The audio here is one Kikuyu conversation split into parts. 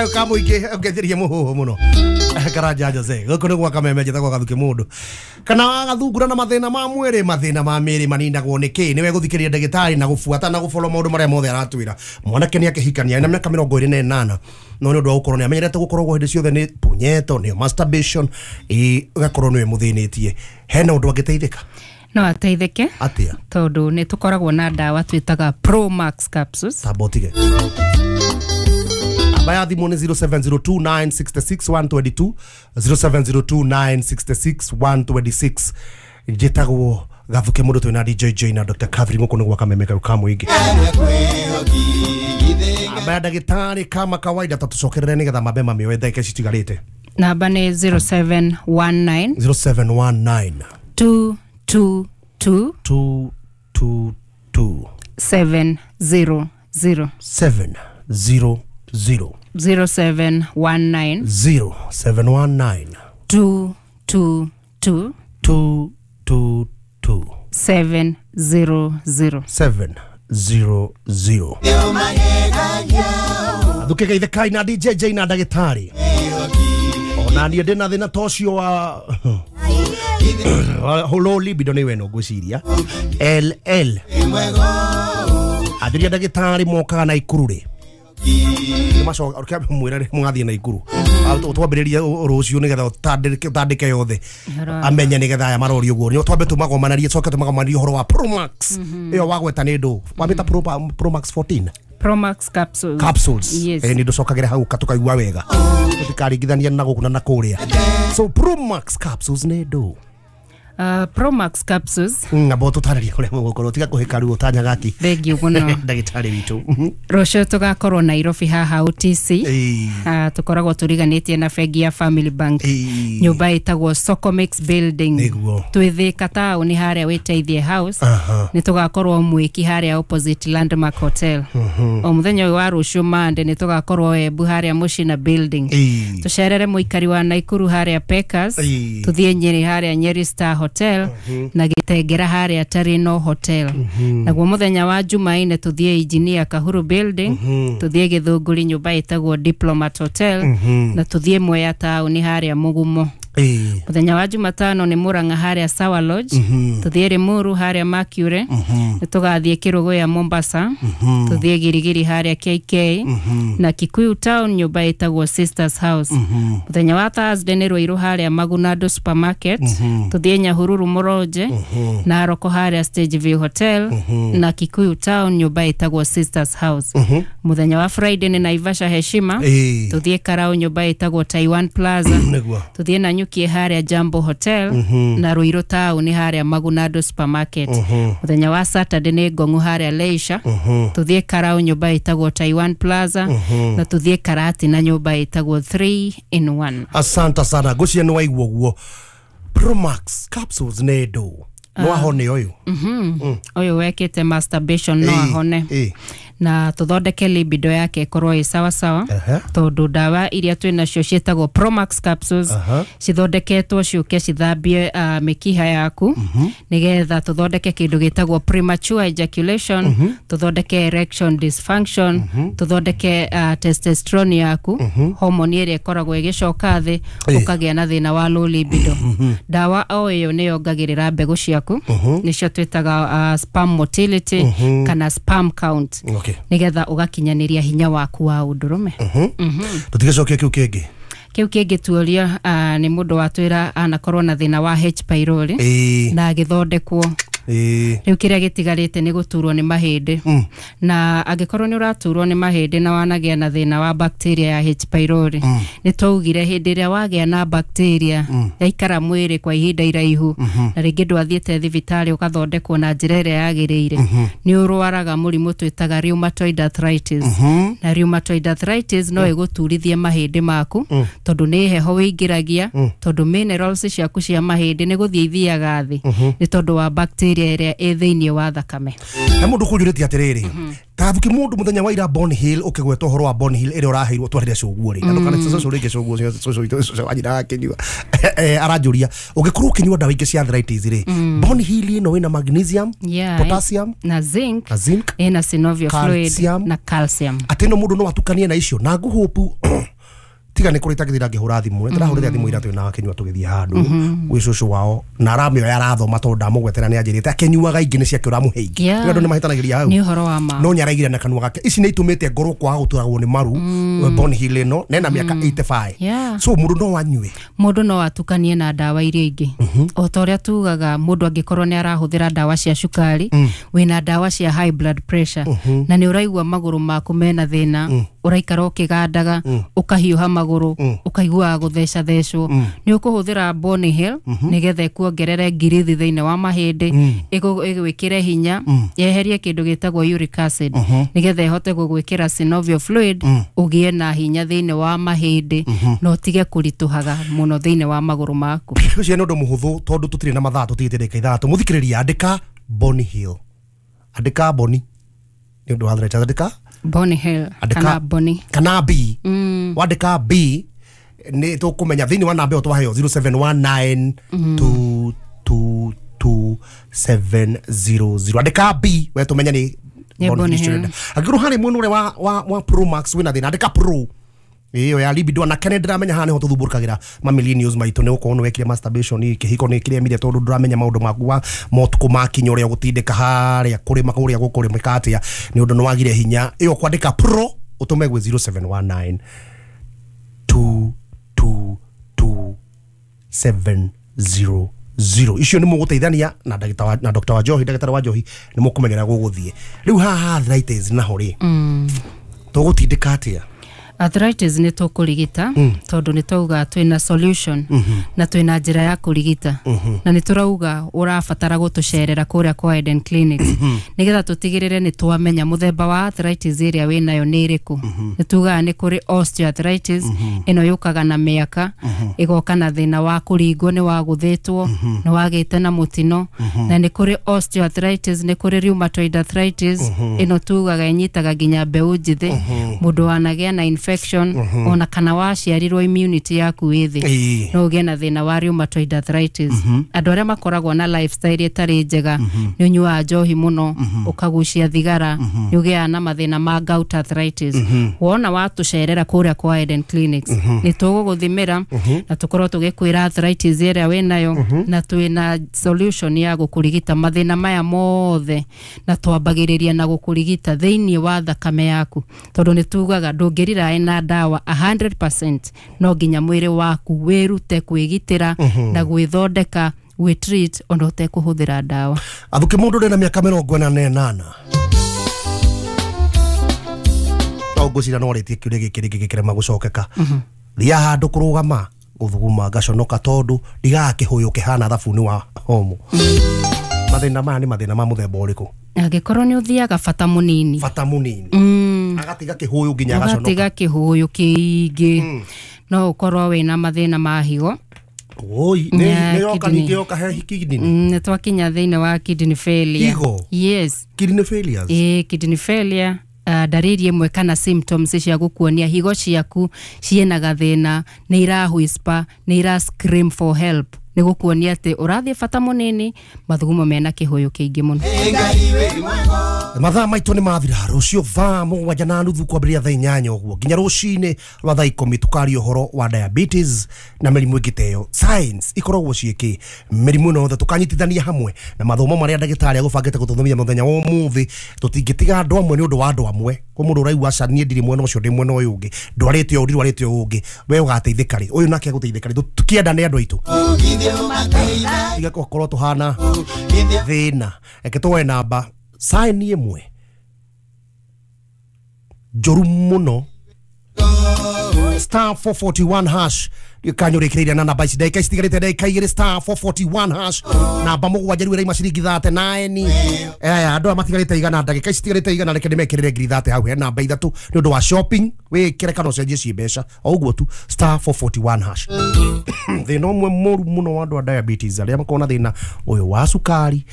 Ka mũingĩ ũngetheria mũhũhũ mũno Karanja Jose gũkũ nĩ gwa Kameme, njĩtagwo Gathuki. Mũndũ kana wagathungura na mathĩna ma mwĩrĩ, mathĩna ma mĩĩrĩ maninagwo nĩ kĩ? Nĩwe gũthikĩrĩria ndagĩtarĩ na gũbuata na gũboro maũndũ marĩa mothe aratwĩra. Mwanake nĩ akĩhikania na mĩaka 28, no nĩ ũndũ wa gũkorwo nĩ amenyerete gũkoragwo hĩndĩ ciothe nĩ punyeto, nĩyo masturbation, ĩ ũgakorwo nĩwe mũthĩnĩtie, hena ũndũ angĩteithĩka? No ateithĩke. Atĩa? Tondũ nĩ tũkoragwo na ndawa twĩtaga Promax capsules. Tamba ũtige. Namba ya thimũ nĩ 0702966122, 0702966126. Njĩtagwo Gathuke mũndũ, twĩna DJ J na Dr. Catherine gũkũ nĩ gwa Kameme kau ka mũingĩ. Namba ya ndagĩtarĩ kama kawaida, tatũcokerere nĩgetha mambe mamĩoe ndagĩka ici citigarĩte. Namba nĩ 0719 0719 222 222 700. 700. 0719 0719 222 222 700. 700. Thuke geithĩkai na DJ J na ndagĩtarĩ. Ona niĩ ndĩna thĩna ta ũcio wa low libido, nĩ weno ngwĩciria LL. Anjũria ndagĩtarĩ mokaga na ikuru rĩ? Mwĩra mũgathiĩ na ikuru twambĩrĩrie rũciũ nĩgetha ũtandĩke yothe amenye, nĩgetha aya marorio ũguo nĩ twambe tũmagomanarie, coke tũmagomanarie ũhoro wa Promax ĩyo wagweta. Nĩ ndũ wamĩta Promax 14? Promax capsules. Capsules. Yes. Eh, nĩ ndũcokagĩre hau tũkaigua wega, tũtikaringithania na gũkũ na na kũrĩa. So Promax capsules nĩ ndũ? Promax capsules. Ngamba ũtũtarĩrie kũrĩa mũgũkorwo, tiga kũhĩka ruo tanyagaki. Thengiũ mũno. Ndagĩtarĩ witũ. Rũciũ tũgakorwo Nairobi haha OTC. Ĩĩ. Tũkoragwo tũriganĩtie na bengi ya Family Bank, Ĩĩ. nyũmba ĩtagwo Socomix Building. Twĩ Thĩka taũni harĩa Wĩteithie House. Nĩ tũgakorwo Mwĩki harĩa opposite Landmark Hotel. O mũthenya ũyũ wa rũciũ Mande nĩ tũgakorwo Embu harĩa Mũcina Building. Tũcerere mũikari wa Naikuru harĩa Pekas. Tũthiĩ Nyĩrĩ harĩa Nyeri Star Hotel na Gĩtengera harĩa Tarino Hotel. Naguo mũthenya wa Jumaine tũthiĩ Engineer Kahuru Building, tũthiĩ Gĩthũngũri nyũmba ĩtagwo Diplomat Hotel na tũthiĩ Mwea taũni harĩa Mũgumo. Mũthenya wa Jumatano nĩ Murang'a harĩa Sawa Lodge, tũthiĩ Limuru harĩa Mercury, nĩ tũgathiĩ Kĩrũgũya Mombasa, tũthiĩ Girigiri harĩa KK na Kikuyu Town nyũmba ĩtagwo Sisters House. Mũthenya wa Thursday nĩ Ruiru harĩa Magunado Supermarket, tũthiĩ Nyahururu Mũronje, Naroko harĩa Stage View Hotel na Kikuyu Town nyũmba ĩtagwo Sisters House. Mũthenya wa Friday nĩ Naivasha Heshima, tũthiĩ Karau nyũmba ĩtagwo Taiwan Plaza, tũthiĩ Nanyuki harĩa Jambo Hotel na Ruiru taũni harĩa Magunado Supermarket. Mũthenya wa Saturday nĩ Ngong'u harĩa Leisure, tũthiĩ Karau nyũmba ĩtagwo Taiwan Plaza na tũthiĩ Karatina nyũmba ĩtagwo 3 in 1. Asante sana. Ngwĩciria nĩ waigua ũguo, Promax capsules nĩ ndũ no ahone ũyũ? Ũyũ wekĩte masturbation no ahone na tũthondeke libido yake ĩkorwo ĩ sawa sawa, tondũ ndawa iria twĩ nacio ciĩtagwo Promax capsules cithondeketwo ciũke cithambie mĩkiha yaku nĩgetha tũthondeke kĩndũ gĩtagwo premature ejaculation, tũthondeke erection dysfunction, tũthondeke testosterone yaku, hormone ĩrĩa ĩkoragwo ĩgĩcoka thĩ, ũkagĩa na thĩna wa low libido. Ndawa o ĩyo nĩ yongagĩrĩra mbegũ ciaku, nĩcio twĩtaga sperm motility kana sperm count, nĩgetha ũgakinyanĩria hinya waku wa ũndũrũme. Tũtigacokia kĩu kĩngĩ. Kĩu kĩngĩ tuoria nĩ mũndũ watwĩra anakorwo na thĩna wa H pylori na agĩthondekwo. Rĩu kĩrĩa gĩtigarĩte nĩ gũturwo nĩ mahĩndĩ. Na angĩkorwo nĩ ũraturwo nĩ mahĩndĩ na wanagĩa na thĩna wa bacteria ya H pylori, nĩ twaugire hĩndĩ ĩrĩa wagĩa na bacteria yaikara mwĩrĩ kwa ihinda iraihu na rĩngĩ ndwathiĩte thibitarĩ ũgathondekwo na njĩra ĩrĩa yagĩrĩire, nĩ ũrwaraga mũrimũ twĩtaga rheumatoid arthritis. Na rheumatoid arthritis no ĩgũturithie mahĩndĩ maku, tondũ nĩ heho wĩingĩragia, tondũ minerals ciaku cia mahĩndĩ nĩ gũthiĩ ithiaga thĩ nĩ tondũ wa bacteria. bacteria ĩrĩa ĩ thĩinĩ wa thakame. He mũndũ kũnjũrĩtie atĩrĩrĩ, tathuki mũndũ mũthenya wa ira Bonhill ũkĩgweta ũhoro wa Bonhill ĩrĩa ũraheirwo twarĩre cũguo rĩ, na ndũkane cũcũ rĩngĩ cũguo cũcũ witũ cũcũ wa nyina akĩnyua, aranjũria ũngĩkorwo ũkĩnyua ndawa ingĩ cia arthritis rĩ, Bonhill ĩno ĩna magnesium, potassium na zinc, na zinc, ĩna synovial fluid na calcium, atĩ no mũndũ no atukanie na icio na ngũhũpu. Tiga nĩ kũrĩ tagĩthira ngĩhũra thimũ, ndĩrahũrĩra thimũ ira twĩ na akĩnyua tũgĩthiĩ handũ gwĩ cũcũ wao, na aramĩoya arathoma tondũ ndamũgwetera nĩ anjĩrĩte akĩnyuaga ingĩ nĩ ciake ũramũhe ingĩ. Rĩu andũ nĩ mahĩtanagĩria hau. Nĩ ũhoro wa ma. No nĩaraigire na kanua gake. Ici nĩ itũmĩte ngorwo kwaga gũturagwo nĩ maru. Bonhill ĩno nena mĩaka 85. So mũndũ no anyue, mũndũ no atukanie na ndawa iria ingĩ. O ta ũrĩa tugaga mũndũ angĩkorwo nĩ arahũthĩra ndawa cia cukari, wĩna ndawa cia high blood pressure, na nĩ ũraigua magũrũ maku mena thĩna, ũraikara ũkĩgandaga, ũkahiũha magũrũ, ũkaiguaga gũthecathecwo, nĩ ũkũhũthĩra Bonhill nĩgetha ĩkuongerere ngirithi thĩinĩ wa mahĩndĩ, ĩgwĩkĩre hinya, yeherie kĩndũ gĩtagwo uric acid, nĩgetha ĩhote gũgwĩkĩra synovial fluid, ũgĩe na hinya thĩinĩ wa mahĩndĩ, na ũtige kũritũhaga mũno thĩinĩ wa magũrũ maku. Ũcio nĩ ũndũ mũhũthũ tondũ tũtirĩ na mathaa, tũtigĩte ndagĩka 3. Mũthikĩrĩria, andĩka Bonhill, andĩka Boni nĩ ũndũ wa arthritis, andĩka Bonhill kana Boni kana B. Wandĩka B nĩ tũkũmenya thĩinĩ wa namba ĩyo twaheo 0719 222 700. Andĩka B we tũmenye nĩ Bonhill. Angĩkorwo harĩ mwena ũrĩa wa Pro Max wĩna thĩna, andĩka Pro ĩyo ya libido. Na kene ndĩramenya haha nĩho tũthumbũrũkagĩra ma millennials maitũ, nĩ gũkorwo nĩ wekire masturbation kĩhiko nĩ kĩremire tondũ ndũramenya maũndũ maku wa motukũ makinya ũrĩa ũgũtindĩka harĩa kũrĩma kũrĩa gũkũrĩmĩka atĩa, nĩ ũndũ nĩ wagire hinya. Ĩyo kwandĩka Pro ũtũme gwĩ 0719 222 700. Icio nĩ mũgũteithania na na Dr. Wanjohi, ndagĩtarĩ Wanjohi, nĩ mũkũmenyera gũgũthiĩ. Rĩu haha arthritis naho rĩ, tũgũtindĩka atĩa? Arthritis nĩ tũkũrigita, tondũ nĩ twauga twĩna solution na twĩna njĩra ya kũrigita, na nĩ tũrauga ũrabatara gũtũcerera kũrĩa kwa Eden Clinics nĩgetha tũtigĩrĩre nĩ twamenya mũthemba wa arthritis ĩrĩa wĩnayo nĩ ĩrĩkũ. Nĩ tugaga nĩ kũrĩ osteoarthritis, ĩno yũkaga na mĩaka, ĩgoka na thĩna wa kũringwo, nĩ wagũthĩtwo, nĩ wagĩte na mũtino, na nĩ kũrĩ osteoarthritis, nĩ kũrĩ rheumatoid arthritis, ĩno tugaga ĩnyitaga nginya mbeũ njĩthĩ, mũndũ wanagĩa na infection ona kana waciarirwo immunity yaku ĩ thĩ, no ũgĩe na thĩna wa rheumatoid arthritis. Andũ arĩa makoragwo na lifestyle ĩtarĩ njega, nĩ ũnyuaga njohi mũno, ũkagucia thigara, nĩ ũgĩaga na mathĩna ma gout arthritis. Wona watũcerera kũrĩa kwa Eden Clinics, nĩ tũgũgũthimĩra na tũkorwo tũgĩkwĩra arthritis ĩrĩa wĩnayo, na twĩna solution ya gũkũrigita mathĩna maya mothe, na twambagĩrĩria na gũkũrigita thĩinĩ wa thakame yaku, tondũ nĩ tugaga ndũngĩrira na ndawa 100%, no nginya mwĩrĩ waku wĩrute kwĩgitĩra na gwĩthondeka, gwĩtreat ona ũtekũhũthĩra ndawa. Athuki mũndũ ũrĩ na mĩaka 48 no ngwĩciria no arĩtie kĩũria gĩkĩ rĩngĩ gĩkĩrema gũcokeka. Thiaga handũ kũrũgama gũthuguma ngaconoka tondũ ndigaga kĩhũyũ kĩhana thabuni wa homo. Mathĩna maya nĩ mathĩna ma mũthemba ũrĩkũ? Angĩkorwo nĩ ũthiaga bata mũnini, bata mũnini, agatiga kĩhũyũ nginya agaconoka, agatiga kĩhũyũ kĩingĩ, no ũkorwo wĩna mathĩna ma higo. Oi, nĩ yoka ningĩ yoka he kidney. Nĩ twakinya thĩinĩ wa kidney failure. Higo? Yes. Kidney failures? Kidney failure, ndariri ĩmwe kana symptoms cia gũkuonia higo ciaku ciĩna gathĩna, nĩ ira whisper, nĩ ira scream for help, nĩ gũkuonia atĩ ũrathiĩ bata mũnini, mathugumo mena kĩhũyũ kĩingĩ mũno. Mathaa maitũ nĩ mathira. Rũciũ thaa 7:30 kwambĩrĩria thaa 8 ũguo nginya rũcinĩ rwa thaa 10 tũkaria ũhoro wa diabetes na mĩrimũ ĩngĩ ta ĩyo. Science ikoragwo ciĩkĩ mĩrimũ ĩno yothe tũkanyitithania hamwe na mathomo marĩa ndagĩtarĩ agũbangĩte gũtũthomithia mũthenya wa ũmũthĩ. Tũtingĩtiga andũ amwe nĩ ũndũ wa andũ amwe. Kwĩ mũndũ ũraigua aca niĩ ndirĩ mwena ũcio, ndĩ mwena ũyũ ũngĩ, ndwarĩte ũũ, ndirwarĩte ũũ ũngĩ, we ũgateithĩka rĩ, ũyũ nake agũteithĩka rĩ. Tũkĩendane andũ aitũ, tiga gũkorwo tũhana thĩna. Reke tuoe namba sign ĩmwe njũru mũno, star 441 hash Kanyũrĩkĩrĩire na namba ici ndagĩka citigarĩte ndagĩka igĩrĩ star 441 hash namba mũgwanja rĩu ĩraima ciringi 39. Aya andũ aya matigarĩte igana ndagĩka citigarĩte igana reke ndĩmekĩrĩre ngiri 30 hau he namba ithatũ nĩ ũndũ wa shopping wĩkĩre kana ũcenjie ci mbeca o ũguo tu star 441 hash. Thĩna ũmwe mũru mũno wa andũ a diabetes arĩa makoragwo na thĩna ũyũ wa cukari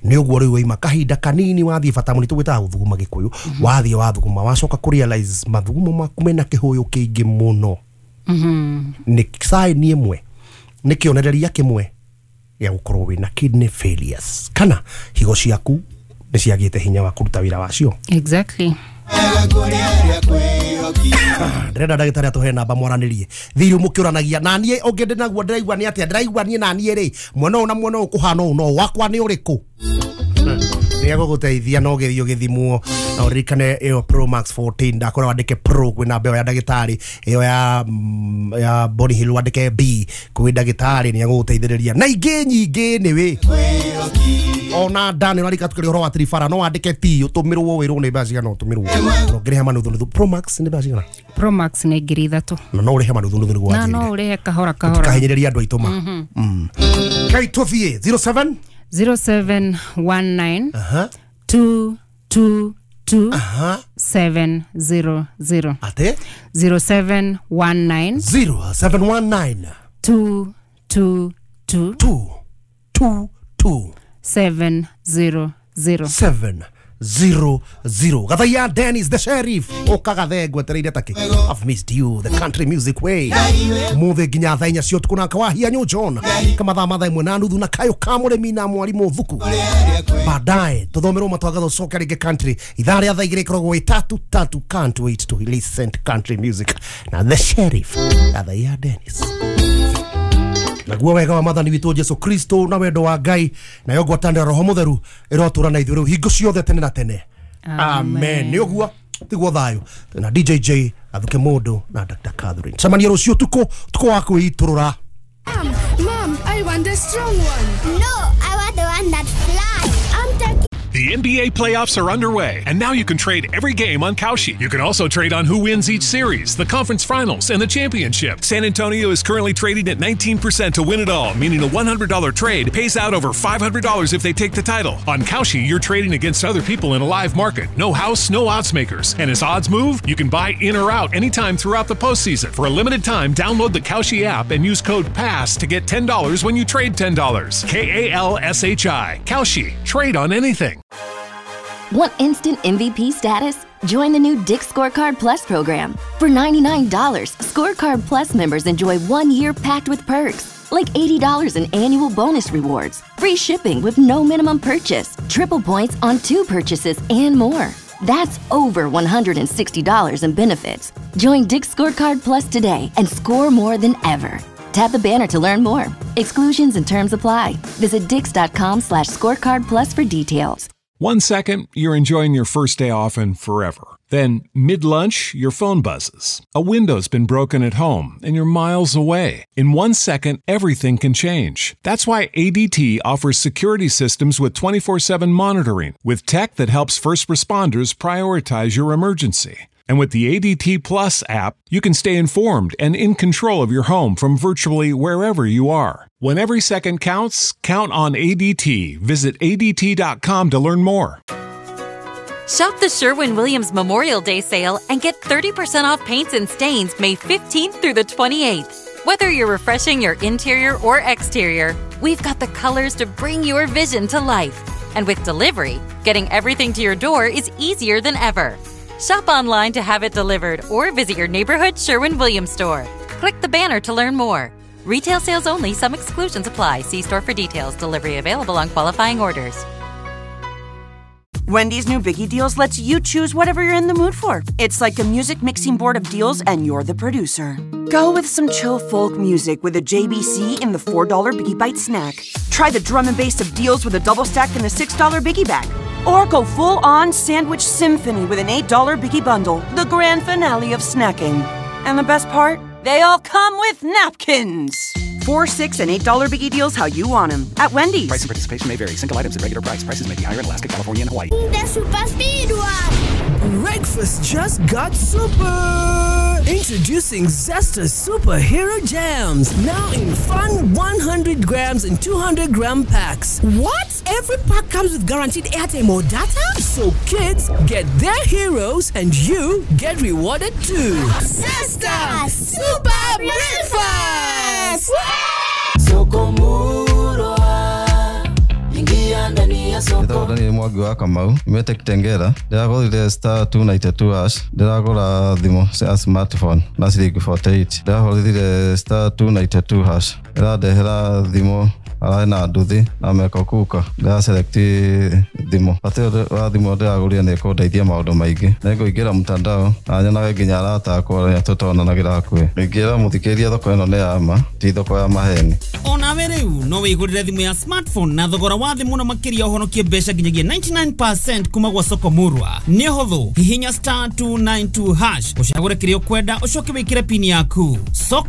nĩ ũguo rĩu waima kahinda kanini wathiĩ bata mũno tũgwĩtaga gũthuguma gĩkũyũ wathiĩ wathuguma wacoka kũ realize mathugumo maku mena kĩhũyũ kĩingĩ mũno. Nĩ sign ĩmwe nĩ kĩonereria kĩmwe gĩa gũkorwo wĩna kidney failures kana higo ciaku nĩ ciagĩte hinya wa kũruta wĩra wacio. Exactly. Ndĩrenda ndagĩtarĩ atũhe namba mwaranĩrie thirĩ mũkĩũranagia na niĩ ũngĩ ndĩ naguo ndĩraigua nĩ atĩa ndĩraigua niĩ na niĩ rĩ mwena ũyũ na mwena ũyũ kũhana ũũ no wakwa nĩ ũrĩkũ nĩ egũgũteithia no ũgĩthiĩ ũgĩthimwo na ũririkane ĩyo Pro Max 14 ndakora wandĩke Pro kwĩ namba ĩyo ya ndagĩtarĩ ĩyo ya Bonny Hill wandĩke B kwĩ ndagĩtarĩ nĩ egũgũteithĩrĩria na ingĩ nyingĩ nĩwĩ ona ndani ũrarika tukĩrĩ ũhoro wa trifara no wandĩke T ũtũmĩrwo wĩrwo nĩ mbeca cigana ũtũmĩrwo no ngĩrĩha manuthunuthu. Pro Max nĩ mbeca cigana? Pro Max nĩ ngiri ithatũ na no ũrĩhe manuthunuthu nĩguo na no ũrĩhe kahora kahora tũkahinyĩrĩria andũ aitũ ma kai tũthiĩ 07 0719 222 700. Ate 0719 0719 222 222 700 700. Gathaiya Dennis the Sheriff ũkagathe ngwetereire takĩ. I've missed you the country music way mũthĩ nginya thaa inya cia ũtukũ na kawahia New John kamathaa mathaa ĩmwe na nuthu na kayũ ka mũrĩmi na mwarimũ thuku baadaye tũthomerwo matwangatho coke rĩngĩ country ithaa rĩa thaa igĩrĩ ĩkoragwo ĩ tatu tatu. Can't wait to listen to country music na the Sheriff Gathaiya Dennis. Naguo wega wa Mwathani witũ Jesu Kristo na wendo wa Ngai nayo ngwatanĩro Roho Mũtheru ĩrotũra na ithuĩ rĩu hingo ciothe tene na tene. Amen. Nĩ ũguo tiguo thayũ na DJJ Athuke Mũndũ na Dr. Catherine. Cemania rũciũ ũtukũ ũtukũ wa kwĩitũrũra. Mom, I want the strong one. No, I want the one that flies. I'm taking. The NBA playoffs are underway, and now you can trade every game on Kalshi. You can also trade on who wins each series, the conference finals, and the championship. San Antonio is currently trading at 19% to win it all, meaning a $100 trade pays out over $500 if they take the title. On Kalshi, you're trading against other people in a live market. No house, no odds makers. And as odds move, you can buy in or out anytime throughout the postseason. For a limited time, download the Kalshi app and use code PASS to get $10 when you trade $10. K-A-L-S-H-I. Kalshi. Trade on anything. Want instant MVP status? Join the new Dick's Scorecard Plus program. For $99, Scorecard Plus members enjoy 1 year packed with perks, like $80 in annual bonus rewards, free shipping with no minimum purchase, triple points on 2 purchases, and more. That's over $160 in benefits. Join Dick's Scorecard Plus today and score more than ever. Tap the banner to learn more. Exclusions and terms apply. Visit dicks.com/scorecard plus for details. 1 second, you're enjoying your first day off and forever. Then, mid-lunch, your phone buzzes. A window's been broken at home, and you're miles away. In 1 second, everything can change. That's why ADT offers security systems with 24/7 monitoring, with tech that helps first responders prioritize your emergency. And with the ADT Plus app, you can stay informed and in control of your home from virtually wherever you are. When every second counts, count on ADT. Visit ADT.com to learn more. Shop the Sherwin-Williams Memorial Day sale and get 30% off paints and stains May 15th through the 28th. Whether you're refreshing your interior or exterior, we've got the colors to bring your vision to life. And with delivery, getting everything to your door is easier than ever. Shop online to have it delivered or visit your neighborhood Sherwin-Williams store. Click the banner to learn more. Retail sales only. Some exclusions apply. See store for details. Delivery available on qualifying orders. Wendy's new Biggie Deals lets you choose whatever you're in the mood for. It's like a music mixing board of deals, and you're the producer. Go with some chill folk music with a JBC in the $4 Biggie Bite snack. Try the drum and bass of deals with a double stack and the $6 Biggie Bag. Or go full-on sandwich symphony with an $8 Biggie Bundle, the grand finale of snacking. And the best part? They all come with napkins! $4, $6, and $8 Biggie Deals how you want them at Wendy's. Price and participation may vary. Single items at regular price. Prices may be higher in Alaska, California, and Hawaii. The Super Speed One! Breakfast just got super! Introducing Zesta Superhero Jams, now in fun 100 grams and 200 gram packs. What? Every pack comes with guaranteed airtime or data? So kids get their heroes and you get rewarded too. Zesta Super Breakfast! Njĩtagwo Daniel Mwangi wa Kamau nyumĩte Kitengela. Ndĩragũrire star 292 hash, ndĩragũra thimũ cia smartphone na ciringi 48. Ndĩrahũrire star 292 hash, ĩrandehera thimũ ararĩ na nduthi na meko kuka. Ndĩra select thimũ, bata ũyũ wa thimũ ndĩragũrire nĩ ĩkũndeithia maũndũ maingĩ. Nĩngũingĩra mtandao na nyonage nginya arata akwa arĩa tũtonanagĩra hakuhĩ. Ingĩra mũthikĩrĩria thoko ĩno nĩ ya ma, ti thoko ya maheni. Onawe rĩu no wĩgũrĩre thimũ ya smartphone na thogora wa thĩ mũno makĩria ũhonokie mbeca nginyagia 99% kuma gwa soko murwa. Nĩ ũhũthũ, hihinya star 292 hash ũcagũre kĩrĩa ũkwenda ũcoke wĩkĩre pini yaku. Soko